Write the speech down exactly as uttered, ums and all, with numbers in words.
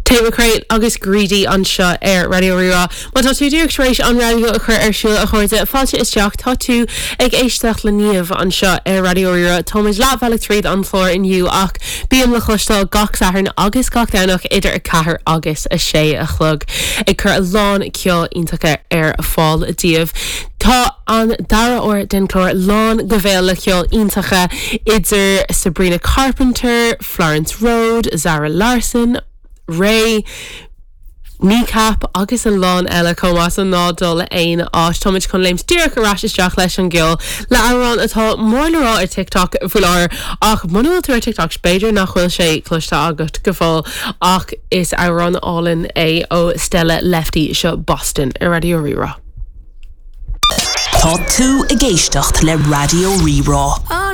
Tate McRae agus Greedy anseo ar Raidió Rí-Rá. Má tá tú díreach tar éis an raidió a chur ar siúl a chairde fáilte isteach tá tú ag éisteacht le Niamh anseo ar Raidió Rí-Rá Táimid leathbhealach tríd an chlár inniu ach bím le cloisteáil gach Satharn agus gach Domhnach idir a ceathair agus a sé a chlog ag cur a lán ceol iontach ar fáil daoibh. Tá an dara huair den chlár lán go béal le ceol iontach idir Sabrina Carpenter, Florence Road, Zara Larsson, Raye, Kneecap agus a lán eile chomh maith ná dul aon áit Táimid chun léimt díreach ar ais isteach leis an gceol le amhrán atá mór le rá ar TikTok faoi láthair ach muna bhfuil tú ar TikTok b'fhéidir nach bhfuil sé cloiste agat go fóill ach is amhrán álainn é ó Stella Lefty seo Boston ar Raidió Rí-Rá. Tá tú ag éisteacht le Raidió Rí-Rá.